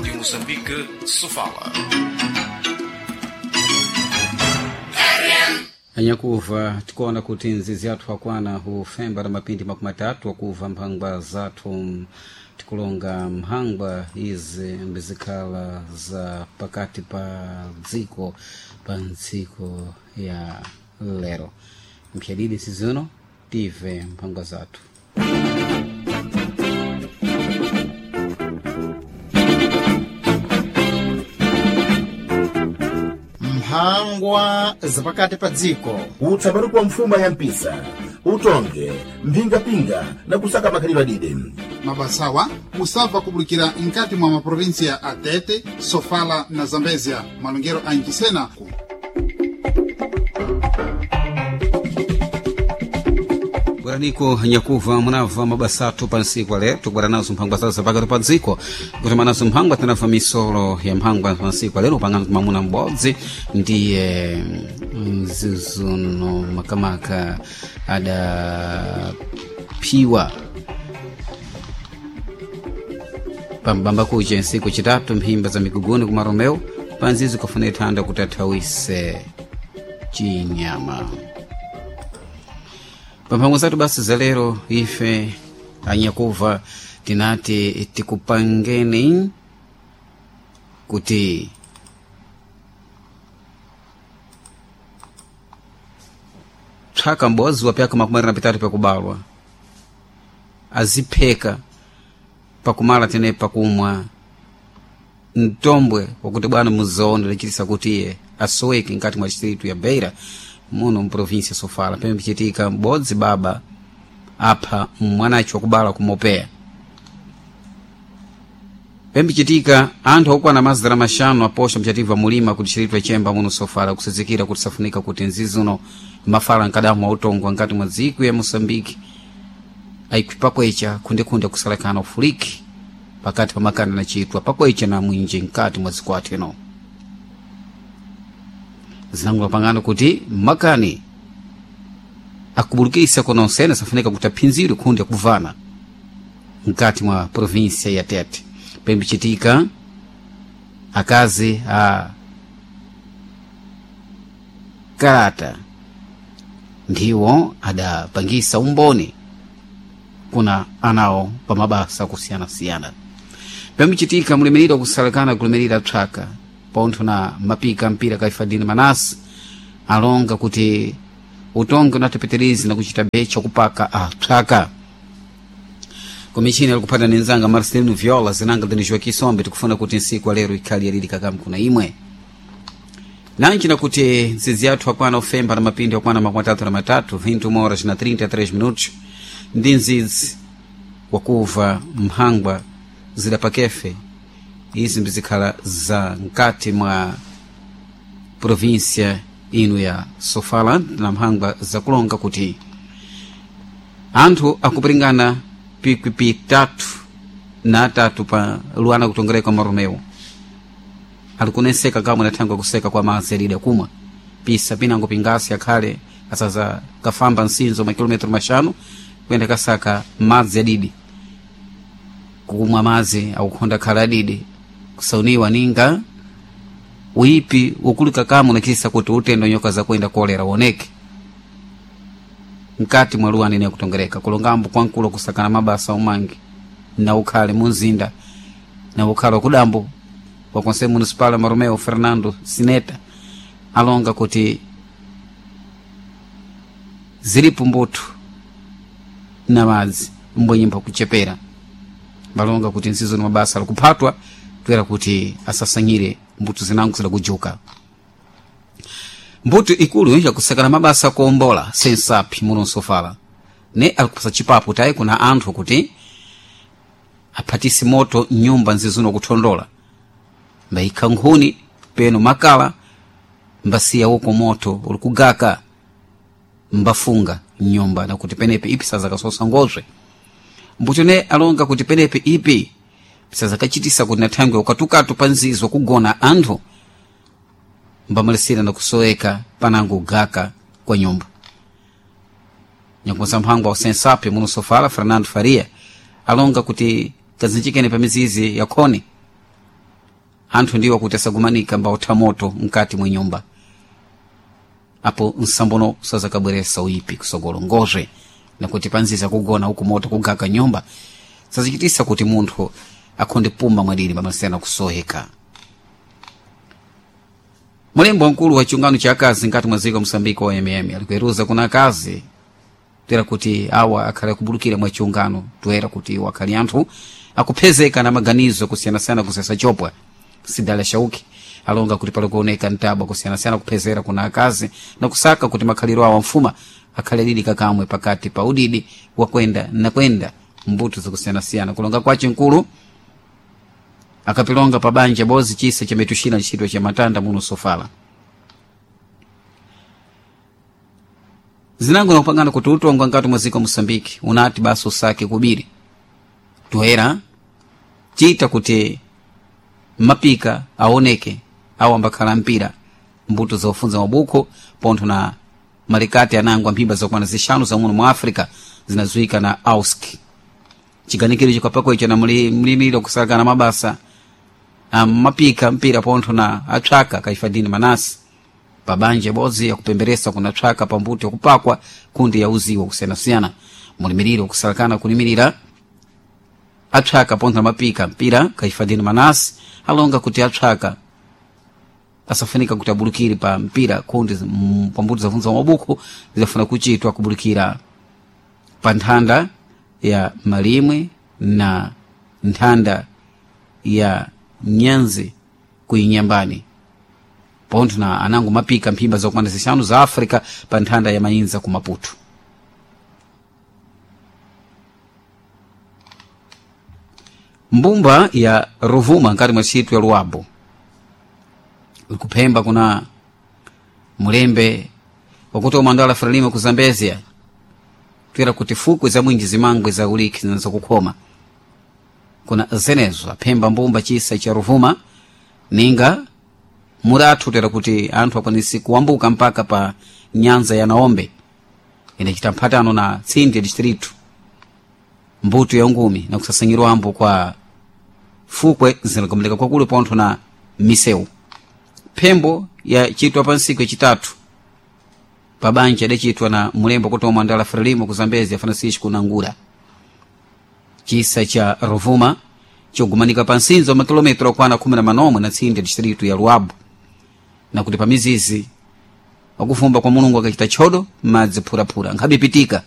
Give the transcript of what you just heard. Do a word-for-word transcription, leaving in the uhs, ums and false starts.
Rádio Moçambique, Sofala. Anyakuva tikuona kuti nzizi athu akwana hufemba na mapindi makumi atatu akuva mphangwa zathu tikulonga mphangwa izi mbizikhala za pakati pa dziko pa ntsiko ya lero mphyadidi sizino tive mphangwa zathu. Mphangwa zapakati pa dziko. Utsabaruku wa mfuma ya mpisa utonge mphingapinga na kusaka makhalidwe adide. Mabasawa musabva kubulikira mkati mwa maprovinsia a Tete, Sofala na Zambezia, malongero a Ncisena. Bweraniko nyakuva munabva mabasa athu pa ntsiku lero tikubwera nazo mphangwa zathu zapakati pa dziko kuti manazo mphangwa tinabva misolo ya mphangwa pa ntsiku lero pangano mamuna m'bodzi ndiye mzizuno makamaka adaphiwa pambamba kuche ntsiku chitatu mphimba za miguguni ku Maromeo panzizi kufuna ithanda kuti athawise chinyama. Pamphangwa zathu basi za lero ife anyakuva tinati tikupangeni kuti tswaka m'bodzi wa pyaka makumi na pitatu pakubalwa azipheka pakumala tene pakumwa mtombwe wakuti bwana muzaone lachitisa kuti iye asoweke nkati mwa distritu ya Beira muno mprovinsia Sofala pamene pichitika m'bodzi baba apha mwanacho wakubala kumopeya pamene pichitika anthu okwana mazana maxanu aposha mchativa mulima ku distritu ya Chemba muno Sofala kusizikira kuti safunika kuti nzizuno mafala nkadamu wautongwa nkati mwa dziko ya Moçambique aikwipakwecha khundekhunde kusalekana ufuliki pakati pa makanda na chitwa pakwecha na mwinji nkati mwa dziko athu ino zinangula pangano kuti makani akubulukisa kononsene safunika kuti aphinzidwe khundi akuvana mkati mwa provinsia ya Tete pembichitika akazi a kalata ndiwo adapangisa umboni kuna anawo pa mabasa kusiyanasiyana pembichitika mulimirira kusalekana kulimirira tswaka pontho na mapika mpira kaifadini manasi alonga kuti utonge unatipitirizi na kuchita becha kupaka atswaka komishina alikuphata nenzanga Marcelino Viola zinanga dini Joaquim Sombe tikufuna kuti nsiku alero ikhali yalili kakamu kuna imwe nanji nakuti nzizi yathu akwana ufemba na mapindi akwana makumi atatu na matatu vinte horas na trinta e três minutos ndi nzidzi wakuva mphangwa zidapakefe izi mbizikhala za nkati mwa provinsia ino ya Sofala na mphangwa zakulonga kuti anthu akupiringana pikwi tatu na atatu pa luana kutongereka Maromeo alikuneseka kamwe nathangwa kuseka kwa madzi alida kumwa pisa pinango pingasi akhale asaza kafamba nsinzo makilometro maxanu kuyenda kasaka madzi adidi kukumwa madzi akukhonda khala adidi kusauniwa ninga uipi ukulika kamwe unachitisa kuti utendo nyoka zakuenda kolera uoneke mkati mwa luwa nene kutongereka kulongambo kwankulu kusakana mabasa umangi na ukhale munzinda na ukhale wakudambo wa conselho municipal Maromeo Fernando Sineta alonga kuti zilipo mbuto na madzi mbwenyimba kuchepera balonga kuti nsizo ni mabasa alikuphatwa kuyera kuti asasanyire mbuto zinango zidakujuka mbuto ikulu yakusakana mabasa kuombola sensapi muno Nsofala ne alikupasa chipapo tayi kuna anthu kuti aphatise moto nyumba nzizuno kuthondola mbayikha nkhuni peno makala mbasiya uko moto uli kugaka mbafunga nyumba nakuti penepe ipi sazakasosa ngozwe mbuto ne alonga kuti penepe ipi sazakachitisa kuti nathangwe ukatukatu pa nzizo kugona anthu mbamalisira na kusoweka panango gaka kwa nyumba nyakuza mphangwa wa sensapi muno Sofala Fernando Faria alonga kuti kazinjikene pa mizizi ya khoni Anthu ndiwo kuti asagumanika mbautha moto mkati mwa nyumba apo nsambono sazakabweresa uyipi kusogolo ngozve nakuti panziza kugona uku moto kugaka nyumba sazichitisa kuti munthu akhonde puma mwadiri pamasena kusoheka. Mulembo wamkulu wa chiungano cha akazi nkati mwa dziko Mosambiki wa mm alikuweruza kuna akazi toera kuti awa akhale akubulukira mwa chiungano, toera kuti iwo akhali anthu akuphezeka na maganizo kusiyanasiyana kusesa chopwa. Sidala Shauki alonga kuti pali kuoneka mtabwa kusiyanasiyana kuphezera kuna akazi na kusaka kuti makhaliro awo amfuma akhale adidi kakamwe pakati pa udidi wakwenda nakwenda mbuto zakusiyanasiyana. Kulonga kwace mkulu akapilonga pa banja bozi chisa cha metuxina ntchito cha matanda muno Sofala zinango nakupangana kuti utongwa nkati mwa dziko Moçambique unati basi usake kubiri toera chita kuti mapika aoneke awo ambakhala mpira mbuto zofunza mabukho pontho na malikati anango amphimba zokwana zixanu za muno mu Africa zinazuika na AUSC chiganikiro chikapako icho na mlimiro kusakana mabasa amapika mpira pontho na atsvaka kaifadini manasi pabanja bodzi yakupemberesa kuna tsvaka pambuto yakupakwa kundi yauziwa kusiyanasiyana. Mulimiriro kusalakana kulimirira atsvaka pontho na mapika mpira kaifadini manasi alonga kuti atsvaka asafunika kuti abulukire pa mpira kundi pambuto zafunza mabukho zidafuna kuchitwa kubulukira pa nthanda ya Malimwe na nthanda ya Nyanzi kuinyambani pontho na anango mapika mphimba zokwana zixanu za Africa pa nthanda ya Mainza ku Maputo. Mbumba ya Rovuma nkati mwa ntchito ya Luabo ikuphemba kuna mulembe wakuti umandala Frelimo ku Zambezia twera kuti fukwe za mwinji zimangwe za uliki zinazokukhoma kuna zenezo aphemba mbumba chisa cha Ruvuma ninga murathu tera kuti anthu akwanisi kuwambuka mpaka pa nyanza ya Naombe inachita mphatano na tsindi distritu mbuto ya ungumi na kusasanyirwambo kwa fukwe zinagomeleka kwakulu pontho na misewu. Phembo yachitwa pa ntsiku yachitatu pabanja idachitwa na mulembo kuti omwe Frelimo ku Zambezi ya Francisco Nangura. Chisa cha Rovuma chogumanika pa nsinzo wa makilometro okwana khumi na manomwe na tsindi ya distritu ya Luabo na kuti pa mizizi wakufumba kwa Mulungu akachita tchodo madzi phuraphura nkhabe pitika.